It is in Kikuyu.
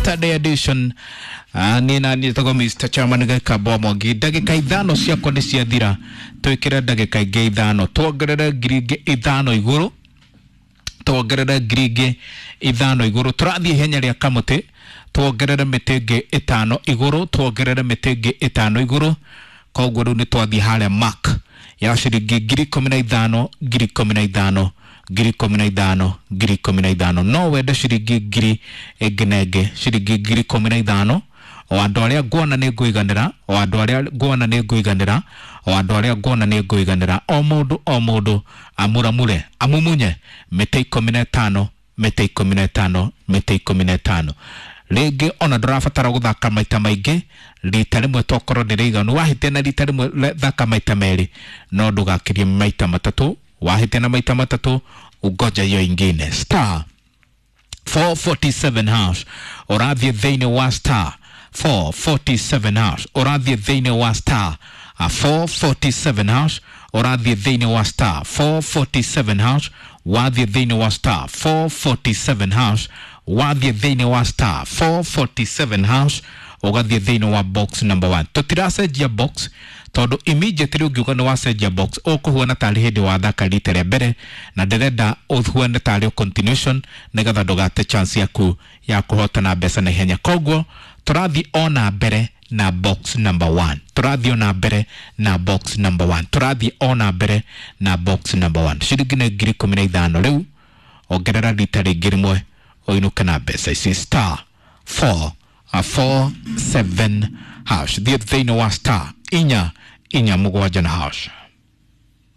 Saturday edition. Niĩ na niĩ tagwo Mr. Chairman Gĩkamba Mwangi. Ndagĩka 5 ciakwa nĩ ciathira, twĩkĩre ndagĩka ingĩ 5, tuongerere ngiri ingĩ 5 igũrũ, tuongerere ngiri ingĩ 5 igũrũ. Tũrathiĩ ihenya rĩa kamũtĩ, tuongerere mĩtĩ ĩngĩ 5 igũrũ, tuongerere mĩtĩ ĩngĩ 5 igũrũ. Koguo rĩu nĩ twathiĩ harĩa mark ya ciringi 15,000, 15,000, 15,000, 15,000. No wende ciringi ngiri ĩngĩ na ĩngĩ, ciringi 15,000. O andũ arĩa nguona nĩ ngũiganĩra, o andũ arĩa nguona nĩ ngũiganĩra, o andũ arĩa nguona nĩ ngũiganĩra. O mũndũ o mũndũ amuramure, amumunye mĩtĩ 15, mĩtĩ 15, mĩtĩ 15. Rĩngĩ ona ndũrabatara gũthaka maita maingĩ, rita rĩmwe tokorwo nĩ rĩiganu. Wahĩtia na rita rĩmwe, thaka maita merĩ, no ndũgakĩrie maita matatũ. Wahĩtia na maita matatũ, ungoja hiyo ingine. Star 447 hash, ũrathiĩ thĩinĩ wa star 447 hash, ũrathiĩ thĩinĩ wa star 447 hash, ũrathiĩ thĩinĩ wa star 447 hash, wathiĩ thĩinĩ wa star 447 hash, wathiĩ thĩinĩ wa star 447 hash, ũgathiĩ thĩinĩ wa box number 1. Tũtiracenjia box tondũ immediately ũngiuga nĩ wacenjia box ũkũhuana tarĩ hĩndĩ wathaka rita rĩa mbere, na ndĩrenda ũhuane tarĩ continuation nĩgetha ndũgate chance yaku ya kũhotana mbeca na ihenya. Koguo tũrathiĩ ona mbere na box number 1, tũrathiĩ ona mbere na box number 1, tũrathiĩ ona mbere na box number 1. Ciringi nĩ 15,000 rĩu, ongerera rita rĩngĩ rĩmwe ũinũke na mbeca ici. Star 4 4 7 hash, thiĩ thĩinĩ wa star 4 4 7 na hash.